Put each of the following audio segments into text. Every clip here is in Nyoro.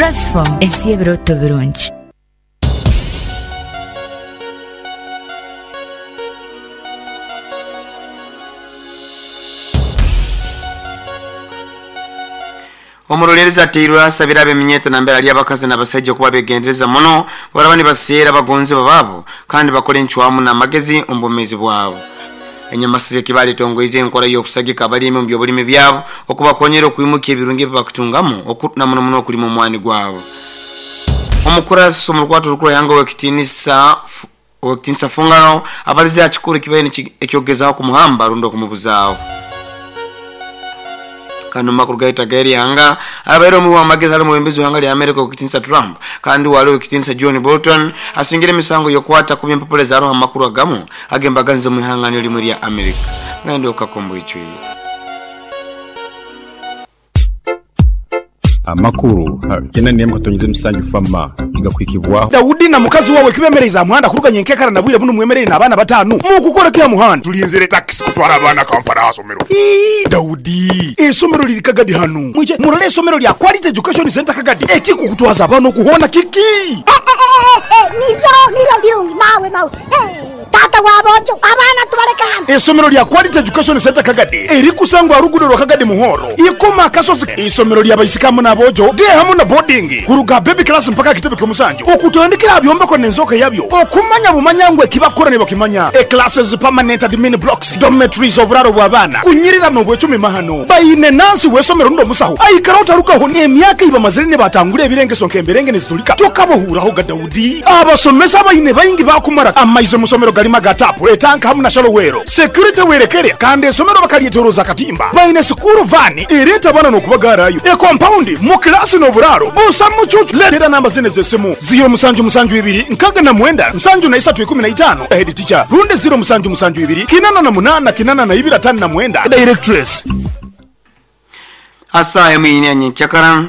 Rasform, ensi y'ebirooto birungi. Omuroleerezi ateirwe asabire ab'eminyeeto nambere ali abakazi n'abasaija okuba begendereza muno baraba nibaseera abagonzebwa baabo kandi bakole encwamu n'amagezi omu bwomeezi bwabo. Enyamasiza ekibaale etongoize enkora y'okusagika abalimi omu by'obulimi byabo okubakonyera okwimukya ebirungi ebibakutungamu na muno muno okulima omwani gwabo. Omukurasi omu rukwato orukuru Ihanga Owekitinisa Owekitinisa Fungaro abalize aha kikuru ekibaire eky'okugezaho kumuhamba rundi okumubuzaaho. Kandi omu makuru gaitu ag'eri ihanga, abaire omuwi w'amagezi hali omwebembezi w'ihanga lya America Owekitinisa Trump kandi wali Owekitinisa John Bolton asingire emisango y'okwata kubi empapura ezaroho amakuru agamu ag'embaganiza omu ihanga niryo limwe erya America. Ngenda okukaka omu bwijwire. Amakuru ha kinana n'emu katonyeza emusanju fama nigakuhikibwaho. Daudi na mukazi wawe kibemereize aha muhanda kuruga nyenkekara na bwire bunu mwemereire n'abaana batanu. Mukukora ki aha muhanda? Tulinzire takisi kutwara abaana Kampala aha somero. Ii, Daudi, eisomero liri Kagadi hanu. Mwije murole eisomero lya Quality Education Centre Kagadi. Ekikukutwaza abaana okuhoona kiki? Niryo, niryo birungi mawe mawe. Taata wa boojo, abaana tubaleke hano. Eisomero lya Quality Education Centre Kagadi erikusangwa aha luguudo lwa Kagadi Muhoro, Ikoma Akasozi. Eisomero lya baisiki hamu n'aboojo, day hamu na boarding, kuruga aha baby class mpaka aha kitebe ky'omusanju, okutandikira aha byombeko n'enzooka yabyo, okumanya bumanya ngu ekibakukora nibakimanya. E Classes, permanent admin blocks, dormitories, oburaaro bw'abaana, kunyirira n'obwecumi mahano. Baine nansi w'eisomero rundi omusaho aikara otarugaho n'emyaka ei bamazire nibatangura ebirengeso nk'emberenge nizitulika tokabahuuraho ga Daudi. Abasomesa abaine baingi baakumara amaizi omu somero garimu aga taapu, etanka hamu na shallow well. Security werekere kandi esomero bakaryetoroza akatimba. Baine sikuuru vaani ereeta abaana n'okubagaarayo. Ekompaundi mu kilaasi n'oburaaro busa mucuucu. Leetera namba zinu ez'esimu, ziiro musanju musanju ibiri nkaaga na mwenda nsanju na isatu ikumi na itaano, Head teacher, rundi ziiro musanju musanju ibiri kinana na munaana kinana na ibiri ataano na mwenda, Directress. Asa emu ine ya nyenkyakara.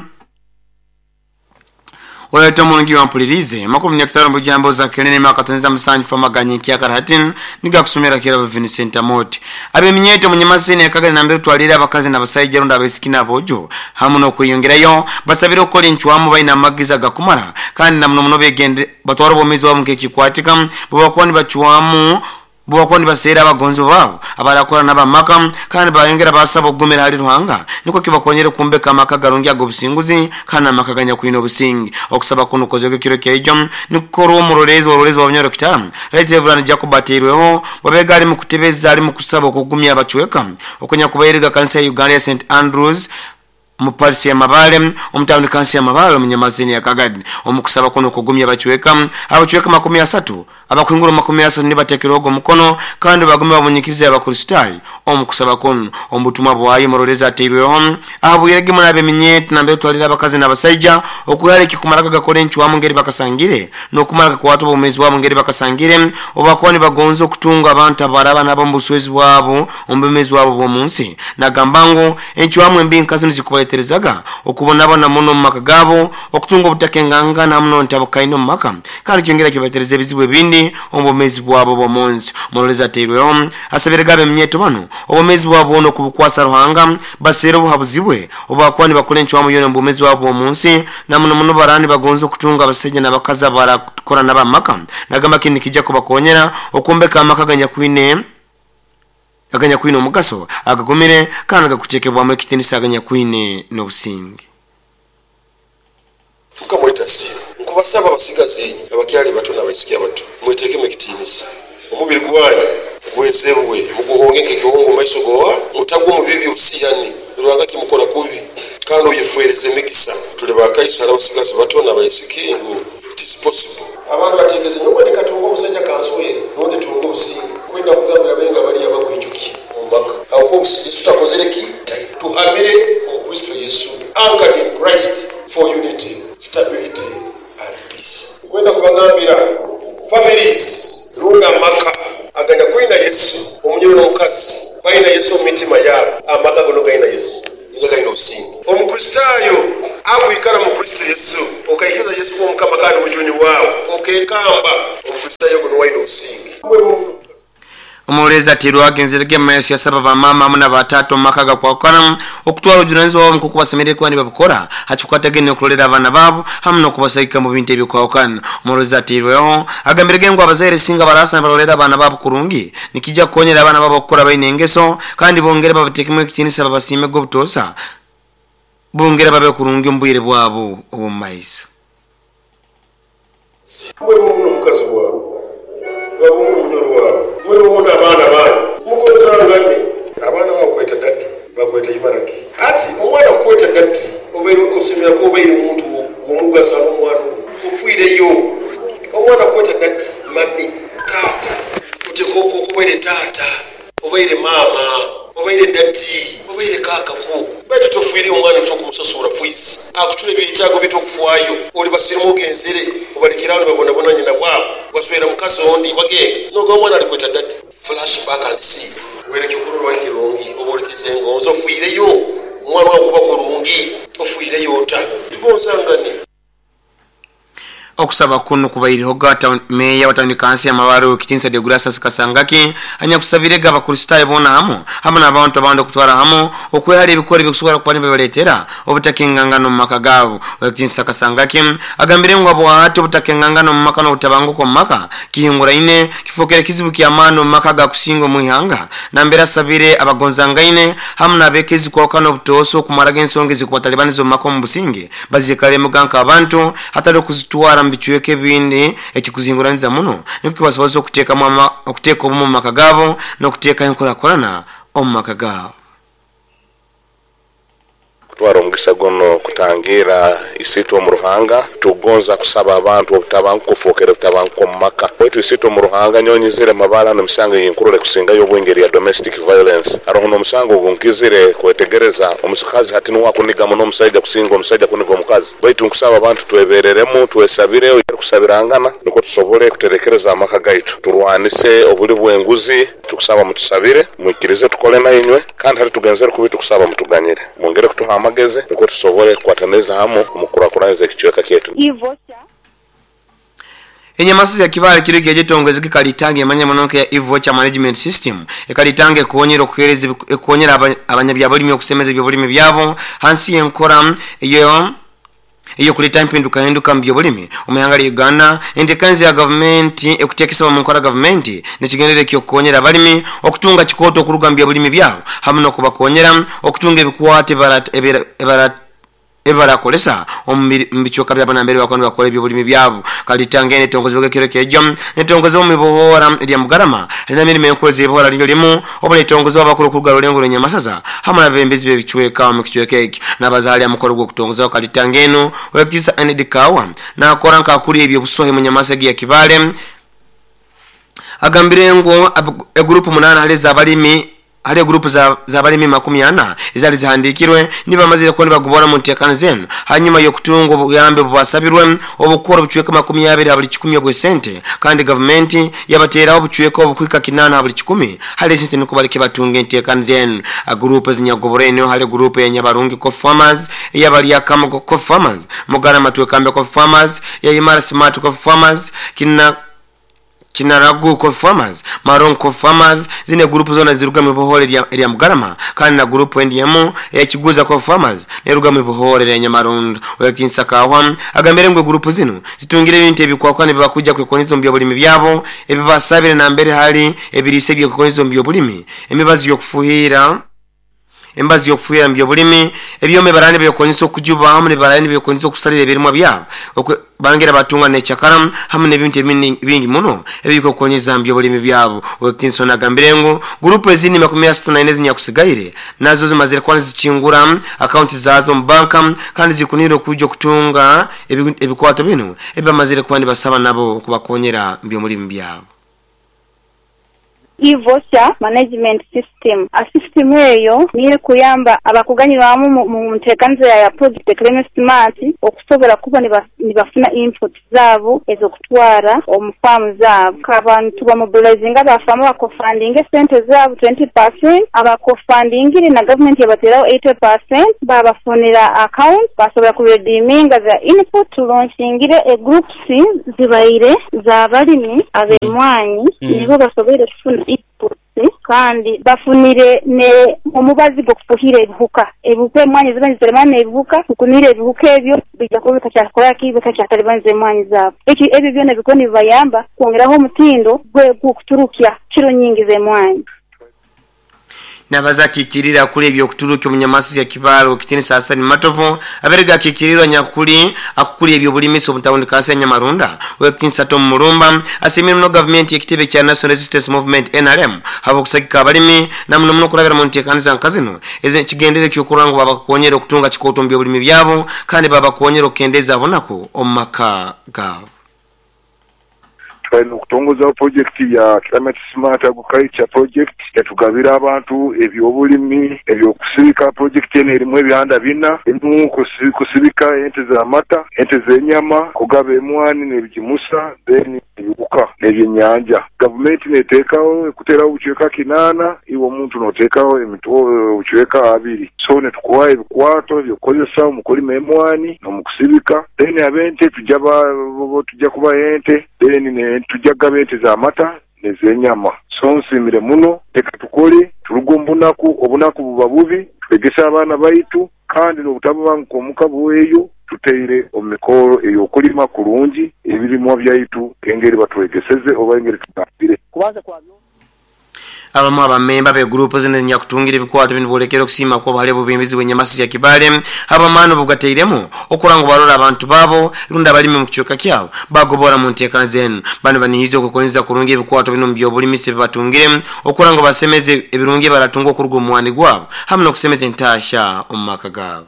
Oyo omurungi wampulirize amakumi n'ekutaano bujambo za kelene myaka tonza musanju famaganye nkyakara hati nigakusomera kirabo Vincent Amoti abeminyeto munyamasini akagari nambere twalira abakazi n'abasaija rundi abaisiki n'abojo hamu n'okweyongerayo basabire okukola encwamu baine amagezi agakumara kandi na muno muno begende batwara obwomeezi bwabo nk'ekikwatika bwebakuba nibacwamu bwebakuba nibaseera abagonzi baabo abarakora n'abamaka kandi bayongera basaba okugumira hali Ruhanga nikwo kibakonyere kumbeka amaka garungi ag'obusinguzi kandi amaka ganyakwine obusingi. Okusaba kuno kukozekwa ekiro kyaijo nikukorwa omurorezi ororezi wa Bunyoro Kitara Right Reverend Jacob Ateirweho wabega ali mukutebeza ali mukusaba okugumya abacweka okunyakubairiga kanisa ya Uganda ya St Andrews mu parisi ya Mabale omutawuni kansi ya Mabale omunyamazini ya Kagadi. Omukusaba kuno kugumya abacweka 30 abakwingura 30 nibatekerwa omukono kandi bagume bamunyikiriza abakristaayo omukusaba kuno. Omubutumwa bwayo murorezi ateirweho ahabwirege munabe minyeto nambe twalira abakazi n'abasaija okuyara ekikumara gakora encwamu ngeri bakasangire n'okumara kakwata obumezi bwabo ngeri bakasangire obakuba nibagonza okutunga abantu abaraba nabo mu buswezi bwabo omu bumezi bwabo bw'omunsi. Nagamba ngu encwamu embi nkazi nizikubareterezaga okubonabona muno omu maka gabo okutunga obutakengangana muno ntabukaine omu maka kandi kyongera kibatereza ebizibu ebindi omu bumezi bwabo bw'omunsi. Murorezi ateirweho asabire gabe eminyeto bano obumezi bwabo bwona okubukwasa Ruhanga baseere obuhabuzi bwe obakuba nibakora encwamu yona omu bumezi bwabo bw'omunsi na muno muno barani bagonza okutunga abasaija n'abakazi abarakora n'abamaka. Nagamba kinu nikijja kubakonyera okumbeka amaka aganyakwine omugaso agagumire kandi agakutekebwamu ekitinisa aganyakwine n'obusinge. Mukama waitu asiimwe. Nkubasaba abasigazi abakyali bato n'abaisiki abato mweteekemu ekitiinisa. Omubiri gwanyu gwezebwe muguhonge nk'ekihongo omu maiso gowa mutagwa omu bibi by'obusiyani Ruhanga kimukora kubi kandi oyefwereze emigisa. Tuli bakaiso hali abasigazi bato n'abaisiki ngu it is possible. Abantu bateekeze nyowe ndikatunga omusajja kanswere rundi tunga obusinge. Kwenda kugambira benga bali abakwijukya omu maka. Habwokuba obusinge Yesu takozere ki? Tuhamire omu Kristo Yesu, anchored in Christ for unity, stability and peace. Nkwenda kubagambira families rundi amaka aganyakwina Yesu, omunyoro n'omukazi baina Yesu omu mitima yabo, amaka gono gaina Yesu nigo gaina obusinge. Omukristaayo akwikara mu Kristo Yesu, okaikiriza Yesu kuba Omukama kandi omujuni waawe, okekamba, Omukristaayo ogu niwe aina obusinge. Omulezi atirwagenzerege maiso yasaba bamama hamu n'abatata omu maka gakwakana okutwara obujunanizibwa bwabo nk'oku basemereire kuba nibabukora hakikwatagene okurolera abaana baabo hamu n'okubasagika mu bintu ebikwahukana. Omulezi atirweho agambirege ngu abazaire singa barasa nibarolera abaana baabo kurungi nikijja kukonyera abaana baabo okukora baine engeso kandi bongere babateekemu ekitiinisa babasiimege obutoosa bongere babe kurungi omu bwire bwabo obw'omu maiso. Mwebeho muno omukazi waawe, wabeho muno omunyoro waawe, mwebeho muno abaana banyu, mugonzangane. Abaana bo bakweta dadi, bakweta ibara ki? Ati omwana kukweta dadi, obaire osemera kuba obaire muntu w'omugaso hali omwana ogu. Ofiireyo. Omwana kukweta dadi, mami, taata, oteekwa okuba obaire taata, obaire maama, obaire dadi, obaire kaaka ku. Baitu tofiireyo omwana nti okumusasuura fiizi, akucura ebyetaago bye tokufaayo. Oli basirimu ogenzere, obalekere aho nibabonabona nyina bwabo, waswera mukazi ondi, wagenda. Noga omwana alikweta dadi. Flash back and see. Wera ekyokurorwaho ekirungi, obolekeze engonzi, ofiireyo omwana wawe kuba kurungi, ofiireyo ota? Tugonzangane. Okusaba kuno kubairehoga meya wa tawuni kansi ya Mabare Owekitinisa Deogratias Kasangaki anyakusabirege abakristaayo boona hamu hamu n'abantu abandi okutwara hamu okwehara ebikoro ebikusobora kuba nibibaletera obutakengangana omu maka gaabo. Owekitinisa Kasangaki agambire ngu habwahati obutakengangana omu maka n'obutabanguko omu maka kihinguraine kifookere kizibu ky'amaani omu maka agakusinga omu ihanga, nambere asabire abagonzangaine hamu n'abeekezi kwahukana obutoosa okumaraga ensonga ezikubatalibaniza omu maka omu businge bazikalemuga nk'abantu hatali okuzitwara mu bicweka ebindi ekikuzinguraniza muno nikwo kibasobozesa okuteeka obumu omu maka gaabo n'okuteekaho enkurakurana omu maka gaabo. Kutwara omugisa guno kutangira isiitwe omu Ruhanga, tukugonza kusaba abantu obutabanguko kufookera obutabanguko omu maka. Baitu isiitwe omu Ruhanga, nyowe nyizire Mabale hanu emisango eyinkurora ekusingayo obwingi eri ya domestic violence. Haroho n'omusango ogu nkizire kwetegereza, omukazi hati nuwe akuniga muno omusaija kusinga omusaija kuniga omukazi. Baitu nkusaba abantu twebereremu, twesabire, kusabirangana nukwo tusobole kuterekereza amaka gaitu. Turwanise obuli bw'enguzi, tukusaba mutusabire, mwikirize tukole nainywe, kandi hati tugenzere kubi tukusaba mutuganyire. Mwongere kutuha amagezi nukwo tusobole kukwataniriza hamu omu kukurakuraniza ekicweka kyaitu. Enyamasi ya Kibale kiro ekyejetongeze kikalitanga emanya muno nka ya e-voucher management system ekalitanga ekonyera okuhereza ekonyera abanyabyabulimi okusemeza ebyobulimi byabo hansi y'enkora eyo eyokuleta empindukahinduka mu byobulimi omu ihanga lya Uganda. Enteekaniza ya gavumenti ekuteekesebwa mu nkora gavumenti nekigendererwa ekyokukonyera abalimi okutunga kikooto okuruga mu byobulimi byabo hamu n'okubakonyera okutunga ebikwato ebibarakolesa omu bicweka byabo nambere bakuba nibakora ebyobulimi byabo. Kalitanga eno etongozebwaga ekiro kyejo netongozebwa omu ibohora erya Mugarama erina emirimo enkuru ez'eibohora niryo limu obu netongozebwa abakuru okuruga Rurengo Rw'Enyamasaza hamu n'abebembezi b'ebicweka omu kicweka ekyo. N'abazaali aha mukoro gw'okutongozaho kalitanga eno, Owekitinisa Enid Kawa nakora nk'akuriye eby'obusohi mu Nyamasa egi ya Kibale agambire ngu egurupu 8 hali ez'abalimi hali egurupu z'abalimi 40 ezali zihandikirwe nibamazire kuba nibagobora mu nteekaniza eno hanyuma y'okutunga obuyambi obubasabirwe obukukora obucweka 20 ha buli 100 obw'esente, kandi gavumenti yabateeraho obucweka obukuhika 8 ha buli 10 hali esente nukwo baleke batunga enteekaniza eno. Gurupu ezinyagobora eno hali gurupu ya Nyabarungi Coffee Farmers, eyabalyakamu Coffee Farmers, Mugarama Twekambe Coffee Farmers, ya Imara Smart Coffee Farmers, Kina Kinaragu Coffee Farmers, Marong Coffee Farmers, zine gurupu zona ziruga mu ibohore erya Mugarama, kandi na gurupu endi emu eya Kiguza Coffee Farmers neruga mu ibohore erya Nyamarondo. Owekitinisa Kahwa agambire ngu egurupu zinu zitungire ebintu ebikwakwana ebibakuja kwekoniza omu byobulimi byabo ebibasabire nambere hali ebiriisa ebyekwekoniza omu byobulimi, emibazi y'okufuhira emibazi y'okufuhira mu byobulimi, ebyoma ebarani byekonyesa okujuba hamu n'ebarani byekonyesa okusalira ebirimwa byabo bangira batunga n'ekyakara hamu n'ebintu ebindi bingi muno ebikukonyeza mu byobulimi byabo. Owekitinisa agambire ngu gurupu ezindi 34 ezinyakusigaire nazo zimazire kuba nizikingura akaunti zazo mu banka kandi zikunire okuja okutunga ebikwato bino ebibamazire kuba nibasaba nabo okubakonyera mu byobulimi byabo. E-voucher management system. A system eyo niyo ekuyamba abakuganyirwamu mu nteekaniza ya project Climate Smart okusobola kuba nibafuna input zaabo ez'okutwara omu faamu zaabo. Abantu bamobilizinga abafaamu bakofandinga esente zaabo 20%, abakofandingire na gavumenti yabateraho 80%, babafunira account basobola kuredeeminga za input. Tulonshingire egroups zibaire z'abalimi ab'emwanyi nibo basoboire kufuna. inputs kandi bafunire ne omubazi gw'okufuhira ebihuka. Ebihuka emwanyi ziba niziteremana n'ebihuka, tukumire ebihuka ebyo bijja kuba bitakyakora ki bitakyatalibaniza emwanyi zaabo. Eki ebyo byona bikuba nibibayamba kwongeraho omutindo gw'okuturukya kiro nyingi z'emwanyi. Nabaza akikirira kuli ebyokuturuka omunyamasi ya Kibalo kitinisa Hassan Matovu aberega akikirirwa nyakuli akukuli ebyobulimisi omutawundi kasa Nyamarunda wekitinisa Tom Mulumba asimira muno gavumenti ekitebe kya National Resistance Movement NRM habo kusagika abalimi na muno muno kurabira mu nteekaniza nkazino eze kigendere ky'okuranga babakonyera okutunga kikoto mu byobulimi byabo kandi babakonyera okukendeza abonaku omu maka gaabo. Twine okutongozaho projekiti ya Climate Smart Agriculture Project etugabira abantu ebyobulimi ebyokusibika. Projekiti eno erimu ebyanda bina: erimu kusibika ente z'amata, ente z'enyama, kugaba emwani n'ebigimusa, then ebiwuka n'ebyenyanja. Gavumenti neteekaho ekuteraho obucweka 8, iwe omuntu noteekaho obucweka 2. So netukuha ebikwato ebyokukozesa omu kulima emwani n'omukusibika, then ab'ente tujja kubaha ente, then tujja kugaba ente z'amata n'ez'enyama. So nsiimire muno, leka tukole turuge omu bunaku, obunaku buba bubi, twegese abaana baitu kandi n'obutabanguko omuka bweyo tuteire omu mikoro ey'okulima kurungi ebirimwa byaitu engeri batwegeseze oba engeri tugambire. Abamu abamemba be group zino nyakutungira ebikwato bino bolekera okusiima kwa hali obubimbizi bw'enyamasi ya Kibale abamano bugateiremu okuranga barora abantu babo runda abalimi mu kichweka kyabo bagobora mu nteekana zenu. Bano banihiza okukonyeza kurungi ebikwato bino mu byobulimisi bibatungire okuranga basemeze ebirungi baratunga okuruga omwani gwabo hamwe n'okusemeza entasha omu maka gaabo.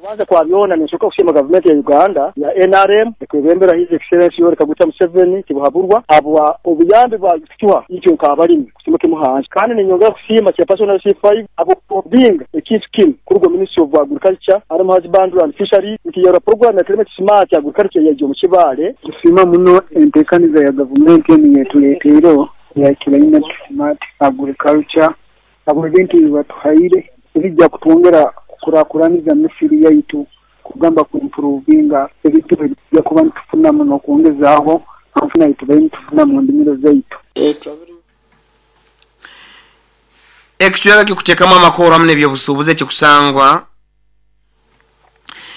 Kubanza kwa byona ninsooka kusiima gavumenti ya Uganda ya NRM ekwebembera His Excellency Yoweri Kaguta Museveni tibuhaburwa habwa obuyambi bwatuha itwe nk'abalimi kusimuka imuhansi. Kandi ninyongera kusiima chairperson wa C5 habw'okubinga ekintu kinu kuruga Ministry of Agriculture, Animal Husbandry and Fisheries nti yora program ya Climate Smart Agriculture yaija omu Kibaale. Tusiima muno enteekaniza ya gavumenti enu yetuleeteireho ya Climate Smart Agriculture abo ebintu ebibatuhaire ebijja kutwongera kukurakuraniza misiri yaitu kugamba kuimprovinga ebintu ebijja kuba nitufunamu n'okwongezaaho anfuna yitubaire nitufuna mu ndimiro zaitu. Ekicweka kikuteekamu amakoro hamwe n'ebyobusuubuzi ekikusangwa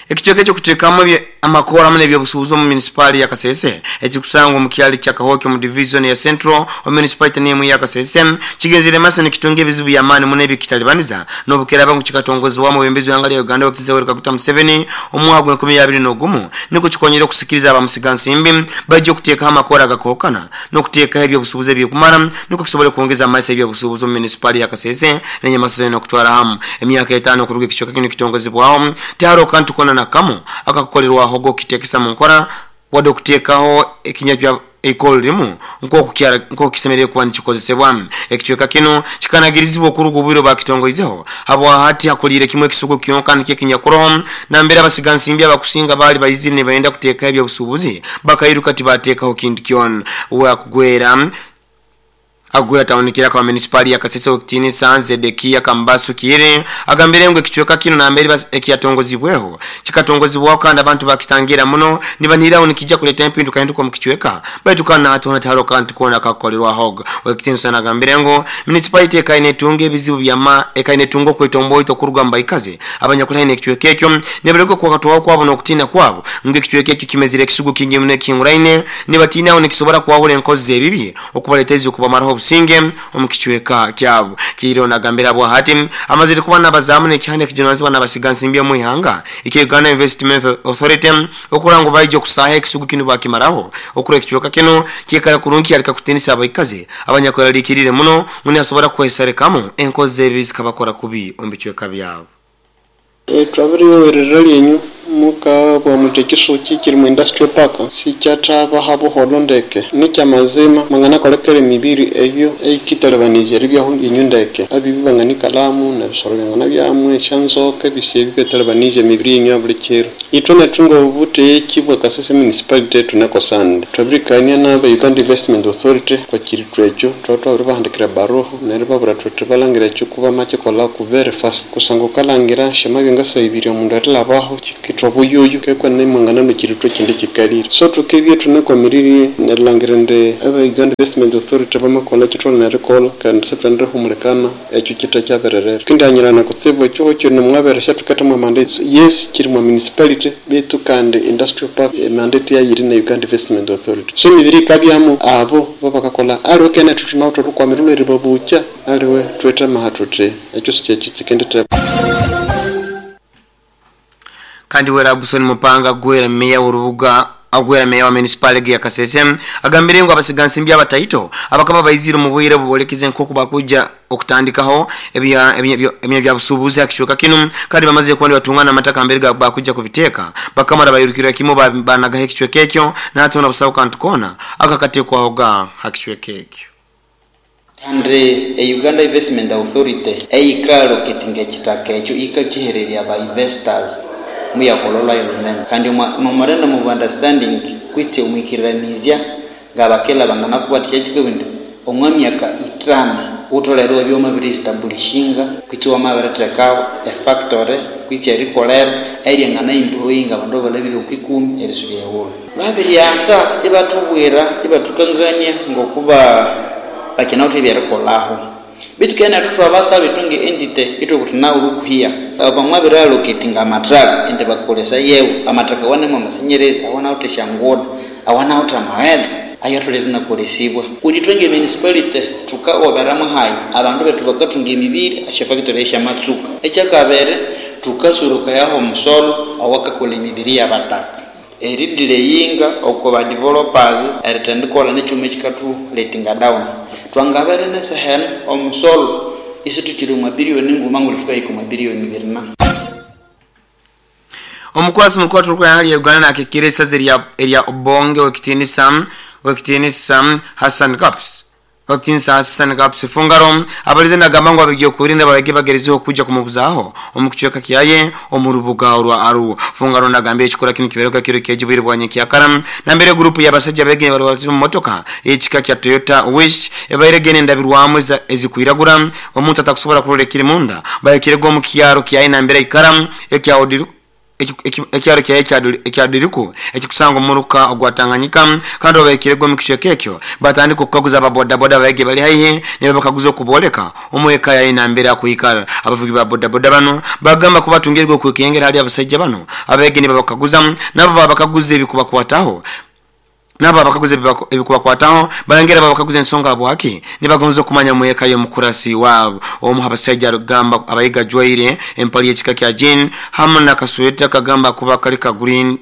ekicweka ekyokuteekamu amakoro hamwe n'ebyobusuubuzi omu munisipaali ya Kasese ekikusangwa omu kyali kya Kahoki omu division ya Central omu municipality n'emu ya Kasese kigenzere maaso nikitunga ebizibu by'amaani muno ebikitalibaniza n'obukeraba ngu kikatongozebwamu obwebembezi bw'ihanga lya Uganda Owekitinisa Yoweri Kaguta Museveni omwaka gwa 2021 nikwo kikonyera okusikiriza abamusigansimbi bajja okuteekaho amakoro agakookana n'okuteekaho ebyobusuubuzi ebyekumara nikwo kisobole kwongeza amaiso ebyobusuubuzi omu munisipaali ya Kasese n'enyamaso n'okutwara hamu emyaka 5 okuruga ekicweka kinu kitongozebwaho tihariho kantu kona na kamu akakukolerwaho g'okukitekesa mu nkora wadde okuteekaho ekinya kya eikolo limu nk'oku kisemereire kuba nikikozesebwa. Ekicweka kinu kikanagirizibwa okuruga obwire bakitongoizeho habwahati hakuliire kimwe ekisugu kyonka nikyo ekinyakuroho nambere abasigansimbi abakusinga baali baizire nibayenda kuteekaho ebyobusuubuzi bakairuka tibateekaho kintu kyona. Wakugwera agwera tawunikira kwa municipali ya Kasese Okitinisa Zedekia Kambasu Kiire agambire ngu ekicweka kino nambere ekiyatongozibweho kikatongozibwaho kandi abantu bakitangira muno nibanihiraho nikijja kuleta empinduka hinduka mu kicweka baitu kandi hati haro kandi kuona kakukolerwaho. Okitinisa nagambire ngu municipality ekainetunga ebizibu byama ekainetunga okwetomboito okuruga mu baikazi abanyakulhaine ekicweka ekyo nibarego kwakatwaho kwabo n'okutina kwabo ngu ekicweka ekyo kimezire ekisugu kingi muno ekihinguraine nibatinaho nikisobora kwahura enkozi z'ebibi okubaleteza okubamaraho obusinge omu kicweka kyabo. Kiiro nagambira bwahati amazire kuba n'abazaamu n'ekihanda ekijunanizibwa n'abasigansimbi omu ihanga eki Uganda Investment Authority okuranga baija okusaaha ekisugu kinu bakimaraho okura ekicweka kino kiikara kurungi kyaleka kutinisa abaikazi abanyakweraliikirire muno ngu nibasobora kwesarekamu enkozi z'ebibi zikabakora kubi omu bicweka byabo. Twabiriyowerera lyenyu muka bwa mutekiso kiri mu industrial park sikyataba habuholo ndeke nikyamazima mangana kolekere mibiri eyo eikitalebanije ribyaho inyu ndeke abibi bangani kalamu na bisoro byangana byamwe shanzoke bisye bibetalebanije mibiri inyu buli kiro itwe netunga obute ekibwa Kasese municipality tunakosande twabirikania na Uganda Investment Authority kwa kiritwecho twatwa bahandikira baroho neribabura twetbalangira ekyo kuba make kola ku very fast kusanga kalangira shema byangasa ibiri omundu atlabaho Erilhetha obuyuyu kekwenene imwanganalhukira ithwe ekindi kikalire. So thukibya ithunakwamirire nerilhangira indi aba Uganda Investment Authority bamakolha ekyithwalina erikolha kandi sithwendihumulikana ekyo kithakyabirerera. Thukendihanyirana kutsibu ekihugho kino mwabere syathuketha mwa mandate. Yes, kiri mwa municipality betu kandi industrial park mandate yayo iri na Uganda Investment Authority. So emibiri yikabyamu abo babakakolha aliwe kene ithwe thunawithe olhukwamiro lweribabukya aliwe thwithemaha thuthi ekyo sikyekyo kyikenditheba. Kandi wera Abusoni Mupanga gwera meya w'orubuga agwera meya wa municipality ya Kasese agambire ngu abasigansimbi abataito abakaba baizire omu bwire bubolekize nk'oku bakuja okutandikaho ebya bya busubuzi akichweka kinu kandi bamaze kuba nibatungana amataka mbere bakuja kubiteeka bakamara bayirukira kimu banagaho ekichweka ekyo natona busawo kantu kona akakatekwahoga hakichweka ekyo. Kandi Uganda Investment Authority eyikaloketinga ekitaka ekyo ikakihererya ba investors muyakololwa yolunene kandi memorandum of understanding kwitse omwikiranizya ngabakela banganakubathikya kikabindi omwa myaka 5 utolere ebyoma biri-establishinga kwitse wamabirithekaho efactory kwitse erikolera eryangana employinga abandu abalabire okwikumi erisubya eghulhu. Babiryasa ibathubwira ibathukangania ngokuba bakinawithe ebyerikolhaho bitu kene thwabasaba ithwe nge entity ithwe kuthinawu lhukuhiya bamwabiri allocatinga amathaka indi bakolesa yewu amathaka awanemu amasenyerezi awanawithe esyanguda awanawithe amaghetse ayo atholere inakolesibwa kundi ithwe nge municipality thukaghoberamu hayi abandu bethu bakathunga emibiri esyafactory esyamatsuka ekyakabiri thukasurukayaho omusolo owakakolha emibiri yabataka eridileyinga oko ba developers erithendikolha nekyuma ekikathuletinga down. Twangabere neseheno omusolo isithukiri omwa billion nguma nguli thukahika omwa billion 2. Omukwasi mukuru wa ya Uganda nakikira esaza erya Obonge wekitinisa Hassan Caps Wakitinisa Hassan Caps Fungaro abalize nagamba ngu abagiye kurinda babage bagerezeho kuja kumubuzaho omukichweka kiyaye omurubuga orwa Aru. Fungaro nagambye ekikora kino kiberuka kiro kyejibwire bwanye kyakara nambere group y'abasajja begene bari bari mu motoka ekika kya Toyota Wish ebaire ndabirwamu ezikwiragura omuntu atakusobola kurolekira munda bayekirego mu kyaro kiyaye nambere ikara ekya Odiru ekyaro kya ekyadiriku ekikusanga omuruka ogwatanganyika kandi obaikirego mu kichweka ekyo batandika okukaguza ababoda boda baige bali haihi ne bakaguza okuboleka omweka ya inambera kuikara. Abavugi ba boda boda bano bagamba kubatungirwa okwekengera hali abasajja bano abege ne babakaguza nabo babakaguza ebikubakwataho nabo abakaguza ebikubakwataho balangera babakaguza ensonga bwaki nibagonza okumanya mweka yo mukurasi wabo. Omu abasajja rugamba abayiga jwaire empali ekika kya jean hamwe na kasweta kagamba kuba kalika green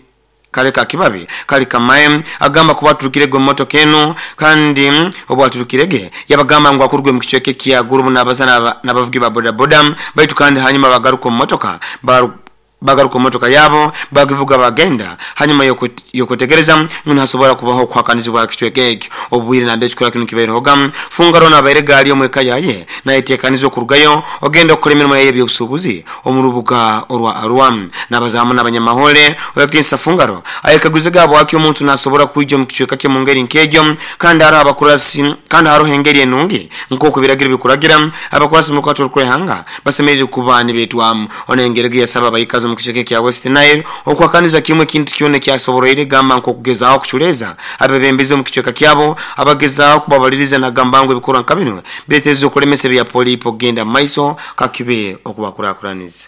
kaleka kibabi kalika maem agamba kuba turukirege motoka eno kandi obwaturukirege yabagamba ngu akurugwe mu kichweke kya gurubu n'abasana n'abavugi ba boda boda baitu kandi hanyuma bagaruka mu motoka bagaruka motoka yabo bagivuga bagenda hanyuma yokutegereza nhasobora kubaho kuhakanizibwa kichweke ekyo obwire nambe ekikora kino kiberehoga. Fungaro nabaire gali omweka yaye nayetekanizwa okurugayo ogenda okukora emirimo yaye ebyobusubuzi omurubuga orwa Arua nabazamu n'abanyamahole oyakitinsa Fungaro ayekaguze gabo waki omuntu nasobora kwijja mu kichweka kye mu ngeri nk'egyo kandi hariho abakurasi kandi hariho engeri enungi nk'oku biragiro bikuragira abakurasi mu kwato rw'ihanga basemerere kuba nibetwamu onengerege yasaba abayikazi mu kichweka kya West Nile okwakaniza kimwe kintu kyone kyasoboroire gamba nko kugezaho kuchuleza abebembezi mu kichweka kyabo abagezaho kubabaliriza nagamba ngo ebikorwa nka bino biretezo okulemesa bya polipo genda maiso kakibe okubakurakuraniza.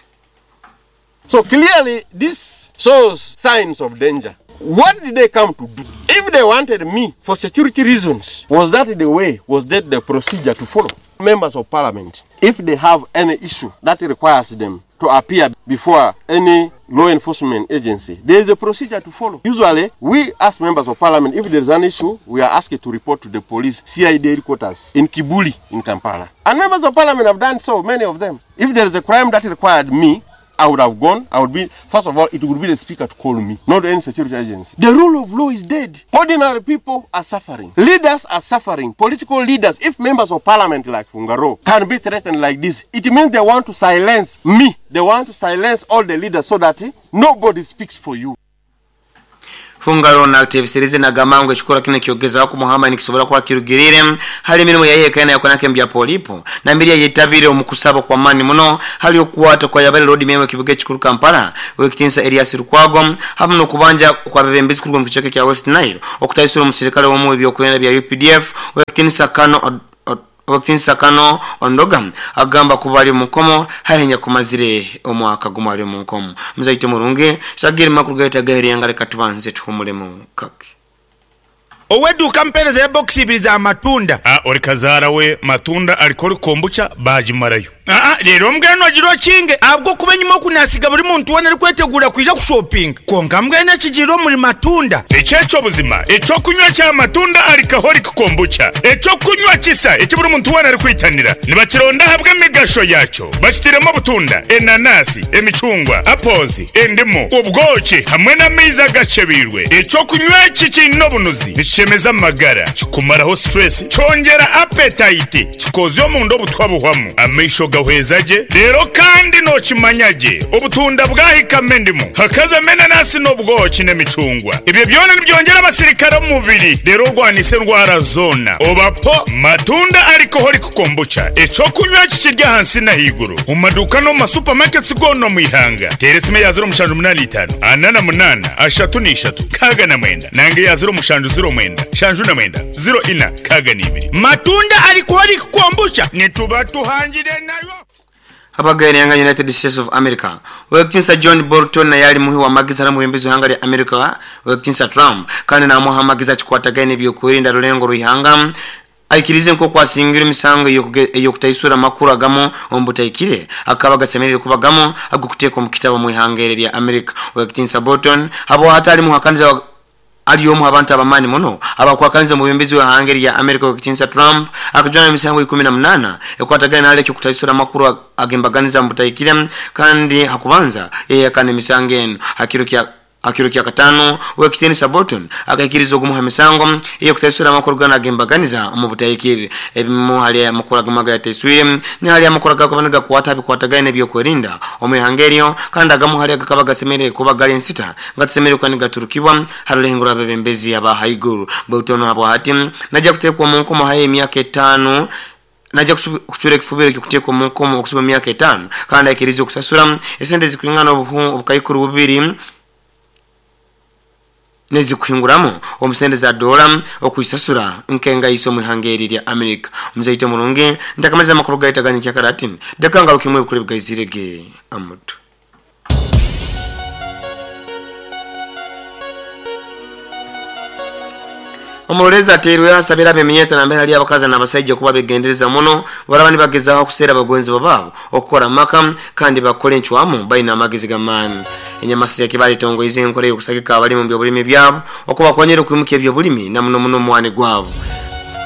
So clearly this shows signs of danger. What did they come to do? If they wanted me for security reasons, was that the way, was that the procedure to follow? Members of parliament, if they have any issue that requires them to appear before any law enforcement agency, there is a procedure to follow. Usually, we as members of parliament, if there is an issue, we are asked to report to the police, CID headquarters in Kibuli, in Kampala. And members of parliament have done so, many of them. If there is a crime that required me, I would have gone. I would be, first of all, it would be the speaker to call me, not any security agency. The rule of law is dead. Ordinary people are suffering. Leaders are suffering. Political leaders, if members of parliament like Fungaro can be threatened like this, it means they want to silence me. They want to silence all the leaders so that nobody speaks for you. Fungaro nateebeserize nagamba ngu ekikorwa kinu ekyokugezaho kumuhamba nikisobora kuba kirugiriire hali emirimo yaye eka nayo mbya polipo nambere yayetabire omu kusaba kw'amaani muno hali okukwata kwa yabale Lord Mayor w'ekibuga ekikuru Kampala ow'ekitiinisa Erias Lukwago hamu n'okubanja okw'abebembezi kuruga omu kicweka ekya West Nile okutaisura omusirikale omu w'ebyokwerinda bya UPDF ow'ekitiinisa Kano Ow'ekitiinisa Kano Ondoga agamba kuba ali omu nkomo haihi nyakumazire omwaka gumu ali omu nkomo. Muzaite murungi, Shagiri makuru gaitu ag'eryanga leka tubanze tuhumulemu kake. Ow'eduuka ampeereza ya bokisi ibiri za matunda. A Ori kazaara we matunda alcoholic kombucha baagimarayo. Aa Reero mbwenu ogire okinge ahabw'okuba enyima oku naasiga buri muntu weena arikweteguura kwija kushopinga. Kwonka mbwenu ekigiire omuri matunda. Eki eky'obuzima, eky'okunywa kya matunda alcoholic kombucha, eky'okunywa kisa eki buri muntu weena arikwitanira. Nibakironda ahabw'emigasho yaakyo. Bakitairemu obutunda, enanasi, emicungwa, apples, endimu, obwoki hamwe n'amaizi agakyebeirwe. Eky'okunywa eki kiine obunuzi, nikishemeza amagara, kikumaraho stress, kyongyera appetite, kikozya omunda obutwa buhwamu, amaisho gahweza gye, reero kandi nookimanya gye obutunda bwahikamu endimu, hakazamu enanasi n'obwoki n'emicungwa. Ebyo byona nibyongyera abasirikare omu mubiri reero orwanise endwara zoona. Oba po matunda alcoholic kombucha, eky'okunywa eki kiri ahansi n'ahaiguru omu maduuka n'omu ma supermarkets goona omu ihanga. Teera esimu eya 0785 48 33 69 nanga eya 0709 79 04 62. Matunda alcoholic kombucha nituba tuhangire nayo. Abagaine nga United States of America. Ow'ekitinisa John Bolton naye ali muhi w'amagezi hali omwebembezi w'ihanga lya America Ow'ekitinisa Trump kandi namuha amagezi akikwatagaine n'ebyokwerinda rulengo rw'ihanga. Aikirize nk'oku asingirwe emisango ey'okutaisura amakuru agamu omu butahikire agakaba gasemeriire kuba gamu ag'okuteekwa omu kitabu omu ihanga eri erya America. Ow'ekitinisa Bolton habwahati ali muhakaniza Ali omu ha bantu ab'amaani muno abakwakaniza omwebembezi w'ihanga erya America Ow'ekitiinisa Trump akajwanwa emisango 18 ekwatagaine hali eky'okutaisura amakuru ag'embaganiza omu butahikire kandi ha kubanza yayehakana emisango enu. Ha kiro kya Ha kiro kya Kataano, Ow'ekitiinisa Bolton akaikiriza ogumu ha misango ey'okutaisura amakuru ganu ag'embaganiza omu butahikire. Ebimu hali amakuru agamu agayataiswire ni hali amakuru agakaba nigakwata ha bikwatagaine n'ebyokwerinda omu ihanga eryo kandi agamu hali agakaba gasemeriire kuba gali nsita Gatusemeriire kuba nigaturukibwa ha rulengo rw'abebembezi aba haiguru. Baitu onu habwahati naija kuteekwa omu nkomo haihi emyaka etaano. Naija kucwera ekifubiro eky'okuteekwa omu nkomo okusiba emyaka etaano kandi aikirize okusasura esente ezikwingana obukaikuru bubiri n'ezikuhinguramu omu sente za doola okwisasura nk'engaisa omu ihanga eri erya Amerika. Omuzaite omurungi, ntakamaliza amakuru gaitu aga nyenkyakara ati, Leka ngarukemu ebikuru ebigaizire ge amutwe. Omurorezi ateirweho asabire ab'eminyeeto nambere hali abakazi n'abasaija kuba begendereza muno baraba nibagezaho kuseera abagonzebwa baabo okukora amaka kandi bakole encwamu baine amagezi g'amaani. Enyamasiza ekibara etongoize enkora ey'okusagika abalimi omu by'obulimi byabo okubakonyera okwimukya eby'obulimi na muno muno omwani gwabo.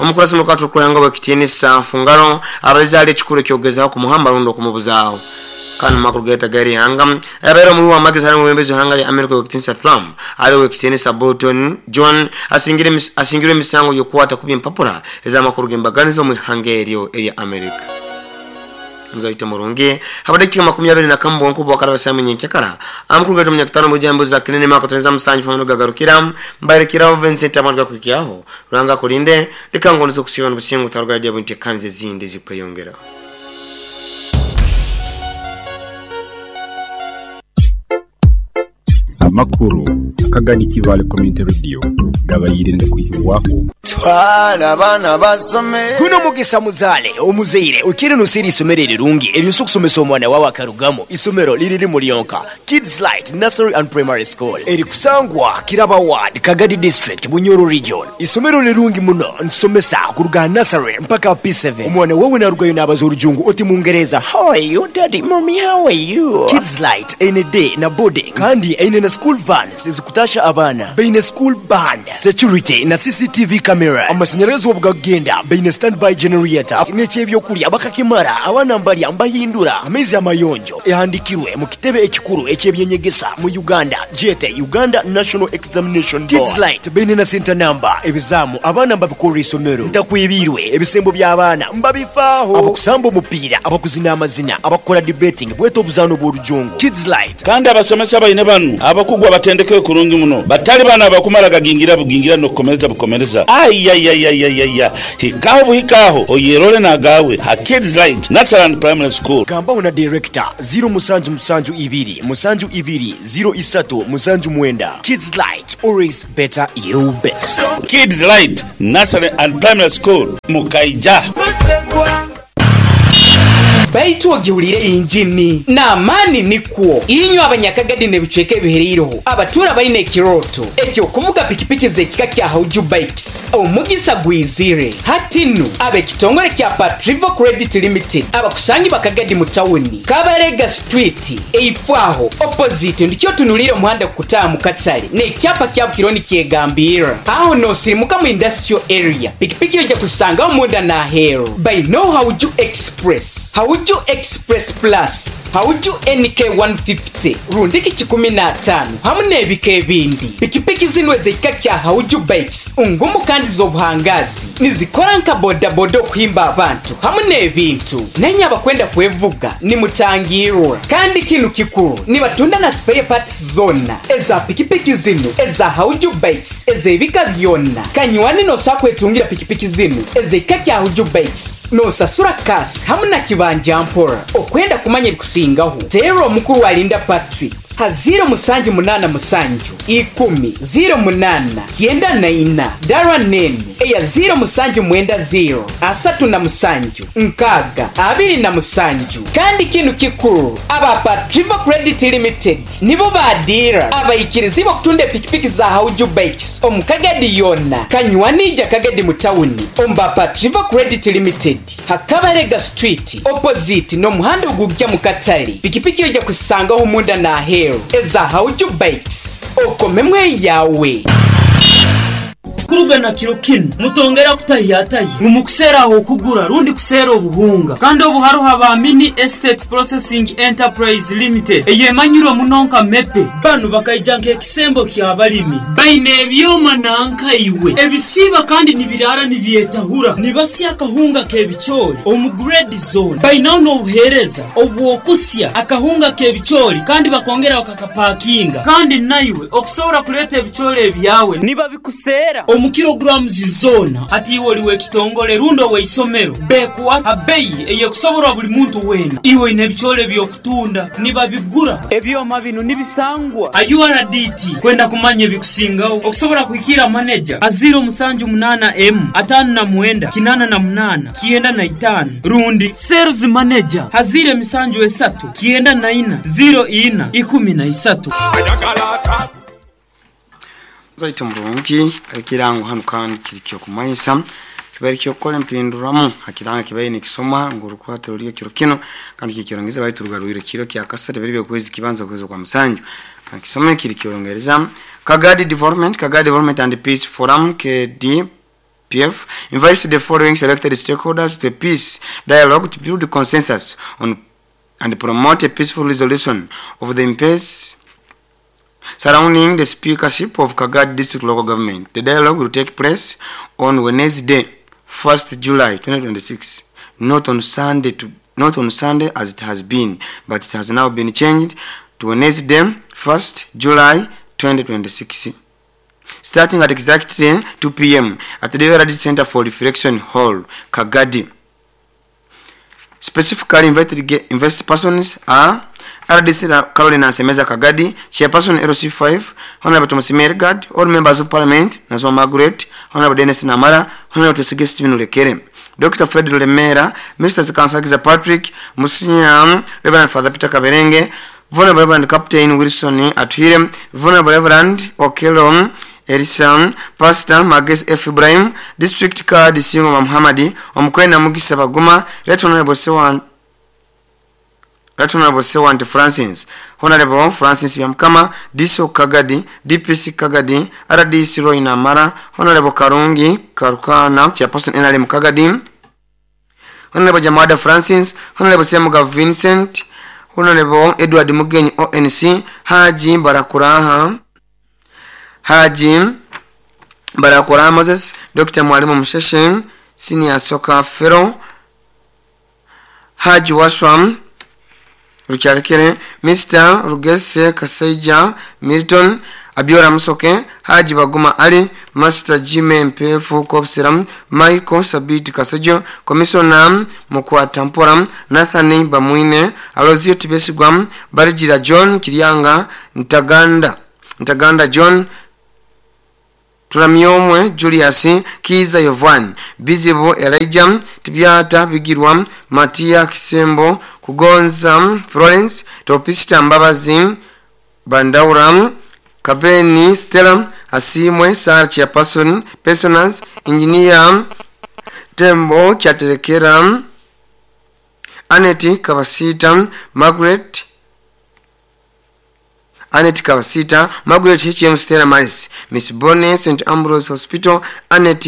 Omukurasi muka Turukuranga ow'ekitiinisa Fungaro abalize hali ekikuru eky'okugezaho kumuhamba rundi okumubuzaaho. Kandi omu makuru gaitu ag'erihanga, abaire omuhi w'amagezi hali omwebembezi w'ihanga lya Amerika ow'ekitiinisa Trump ali ow'ekitiinisa Bolton John asingirwe emisango y'okukwata kubi empapura ez'amakuru g'embaganiza omu ihanga eryo erya Amerika. Muzaite murungi, habw'edakiika 21 bwonka obwakaraba saaha imwe nyenkyakara, amakuru gaitu omunyakatano omu za Kinene mwaka twenza musanju family gagarukira, mbaire Kirabo Vincent amani gakuhikyaho. Ruhanga akulinde, leka ngonze okusiiba n'obusinge otaruga hali ebintekaniza ezindi ezikweyongera. Amakuru akagani Kibaale Community Radio gabaire nigakuhikibwaho. Twala abaana basome. Guno mugisa muzaale omuzaire okiire noseera eisomero erirungi eryosobola okusomesa omwana wawe akarugamu. Isomero liri limu lyonka, Kids Light Nursery and Primary School eri kusangwa Kiraba Ward, Kagadi District, Bunyoro Region. Isomero lirungi muno nitusomesa kuruga aha nursery mpaka aha P7. Omwana wawe narugayo nabaza orujungu oti mungereza How are you daddy, mummy how are you? Kids Light eine day na boarding kandi eine na school vans ezikutasha abaana. Baine school band, security na CCTV cameras. Cameras. Amasanyarazi obu gakugenda baine standby generator n'eky'ebyokulya bakakimara, abaana mbalya mbahindura amaizi amayonjo. Ehandikirwe mu kitebe ekikuru eky'ebyenyegesa mu Uganda gyete Uganda National Examination Board. Kids Lite baine na center number, ebizaamu abaana mbabikorra isomero. Ntakwebiirwe, ebisembo by'abaana mbabifaaho. Abakusamba omupiira, abakuzina amazina, abakukora debating bwete obuzaano bw'orujongo. Kids Lite. Kandi abasomesa baine banu abakugu abatendekeirwe kurungi muno, batali bano abakumara gagingira bugingira n'okukomereza bukomereza. Ayayayayaya! Hikaho buhika aho oyerole n'agaawe ha Kids Light Nursery and Primary School. Gambaho na Director, ziro musanju musanju ibiri musanju ibiri ziro isatu musanju mwenda. Kids Light, always better you best. Kids Light Nursery and Primary School, Mukaija. Baitu ogihulire injini n'amaani nikwo inywe Abanyakagadi n'ebicweka ebihereireho abatuura baine ekirooto eky'okuvuga pikipiki z'ekika kya Hauju Bikes. Omugisa gwizire hati nu ab'ekitongore kya Patrivo Credit Limited abakusangibwa Kagadi mu tawuni, Kabarega Street, eifo aho, opposite, ndikyo otunuliire omuhanda gukutaaha mu katale n'ekyapa kyabo kiriho nikyegambirra. Aho noosirimuka mu Industrial Area, pikipiki oija kuzisangaho munda n'aheeru. Baineo Hauju Express, Hauju Express Plus, Hauju NK 150 rundiki kikumi n'ataano hamu n'ebika ebindi. Pikipiki zinu ez'ekika kya Hauju Bikes ngumu kandi z'obuhangaazi. Nizikora nka bodaboda okuhimba abantu hamu n'ebintu. Nainye abakwenda kwevuga nimutangirwa. Kandi kinu kikuru, nibatunda na spare parts zoona eza pikipiki zinu eza Hauju Bikes ez'ebika byona. Kanywani nosobola kwetungira pikipiki zinu ez'ekika kya Hauju Bikes nosasura cash hamu na kibanja mpora. Okwenda kumanya ebikusingaho, teerra omukuru Alinda Patrick ha ziiro musanju munaana musanju ikumi ziiro munaana kyenda na ina dara n'enu eya ziiro musanju mwenda ziiro asatu na musanju nkaaga abiri na musanju. Kandi kinu kikuru, aba Patrivo Credit Limited nibo ba diira abaikirizibwa okutunda epikipiki za Hauju Bikes omu Kagadi yoona. Kanywani ija Kagadi mu tawuni omu ba Patrivo Credit Limited ha Kabarega Street opposite n'omuhanda ogugya mu katale. Pikipiki oija kuzisangaho munda n'aheeru eza Hauju Bikes. Okomemu eyaawe. Kuruga na kiro kinu, mutongera kutahyatahya ngu mukuseera ah'okugura rundi kuseera obuhunga. Kandi obu haroho aba Mini Estate Processing Enterprise Limited eyemanyirwe muno nka MEPE. Banu bakaija nk'ekisembo ky'abalimi. Baine ebyoma nanka iwe ebisiiba kandi nibiraara nibyetahura, nibasya akahunga k'ebicoori omu grade zoona. Bainaho n'obuheereza obw'okusya akahunga k'ebicoori kandi bakongera bakakapakinga. Kandi naiwe okusobora kuleeta ebicoori ebyawe nibabikuseera omu kilograms zoona. Hati iwe oli w'ekitongole rundi ow'eisomero, bekuha ha beyi ey'ekusoborwa buli muntu weena. Iwe oine ebicoori eby'okutunda, nibabigura. Ebyoma binu nibisangwa ha URDT. Kwenda kumanya ebikusingaho, okusobora kuhikiira maneja ha ziiro musanju munaana emu ataano na mwenda kinaana na munaana kyenda na itaano rundi sales manager ha ziiro emisanju esatu kyenda na ina ziiro ina ikumi na isatu. Zaita murungi ekirango hanu kandi kiri kyokumanyisa kibaire kyokukora empinduramu ha kirango kibaire nikisoma ngu orukwata ruriyo kiro kinu kandi kikyorongeza baitu rugarwire kiro kya kasatu ebiro byokwezi kibanza okwezi okwa musanju. Kandi kisome kiri kyorongereza Kagadi Development, Kagadi Development and Peace Forum KDPF invites the following selected stakeholders to a peace dialogue to build consensus on and promote a peaceful resolution of the impasse surrounding the speakership of Kagadi District Local Government. The dialogue will take place on Wednesday, 1st July 2026, not on Sunday to, not on Sunday as it has been, but it has now been changed to Wednesday, 1st July 2026. Starting at exactly 2 p.m. at the Development Center for Reflection Hall, Kagadi. Specifically invited invited persons are RDC Caroline Nsemeza Kagadi, Chairperson LC5, Honorable Thomas Mergard, all members of Parliament, Nazwa Margaret, Honorable Dennis Namara, Honorable Tesige Stephen Lekere, Dr. Fred Lemera, Mr. Kansakiza Patrick, Musinya, Reverend Father Peter Kaberenge, Vulnerable Reverend Captain Wilson Atuhire, Vulnerable Reverend Okello Elisa, Pastor Mages F. Ibrahim, District Card Singo Muhammadi, Omukwena Mugisa Baguma, Right Honorable Sewan, Right Honorable Sewant Francis, Honorable Francis Byamukama, DCO Kagadi, DPC Kagadi, RDC Roy Namara, Honorable Karungi Karukana, Chairperson NRM Kagadi, Honorable Jamada Francis, Honorable Semuga Vincent, Honorable Edward Mugenyi ONC, Haji Barakuraha, Haji Barakuraha Moses, Dr. Mwalimu Msheshe, Senior Soccer Fellow, Haji Waswam Rukyalekere, Mr. Rugese Kasaija Milton, Abiora Musoke, Haji Baguma Ali, Master Jime Mpefu Kopsiram, Michael Sabiti Kasojo, Commissioner Mukwatampora, Nathan Bamwine, Alozio Tibesigwa, Barijira John Kiryanga, Ntaganda John, Turamyomwe Julius, Kiza Yovan, Bizibu Elijah, Tibyata Bigirwa, Matia Kisembo, Kugonza Florence, Topista Mbabazi, Bandaura, Kabeni Stella, Asimwe Sara Chairperson, Personas, Engineer Tembo Chaterekera, Aneti Kabasita, Margaret Anet Kawasita, Margaret H.M. Stella Maris, Miss Bonnie, St. Ambrose Hospital, Anet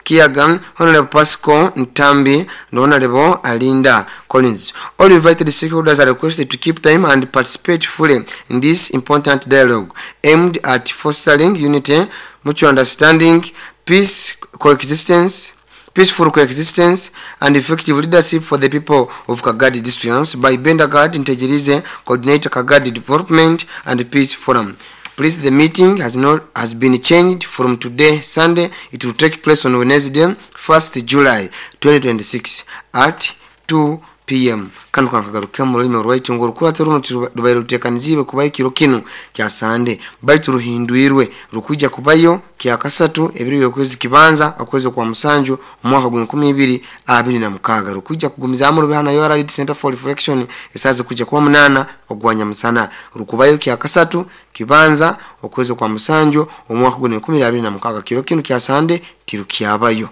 Kiagan, Honorable Pascal Ntambi, and Honorable Alinda Collins. All invited stakeholders are requested to keep time and participate fully in this important dialogue aimed at fostering unity, mutual understanding, peace, coexistence, peaceful coexistence and effective leadership for the people of Kagadi District. Announced by Bendagard Ntegerize, Coordinator Kagadi Development and Peace Forum. Please, the meeting has been changed from today, Sunday. It will take place on Wednesday, 1st July 2026 at 2 p.m. Kano kankagaruke mu rurimi rwaitu ngu orukurate runo rubaire ruteekaniziibwe kubayo ekiro kinu kya Sande, baitu ruhindwirwe rukwija kubayo kya kasatu ebiro by'okwezi kibanza okwezi kwa musanju omwaka gwa 2026. Rukwija kugumizaamu rube hana URL Center for Reflection esaaza kujya kuba 8 ogwa nyamusana. Rukubayo kya kasatu kibanza okwezi kwa musanju omwaka gwa 2026. Kiro kinu kya Sande tirukyabayo.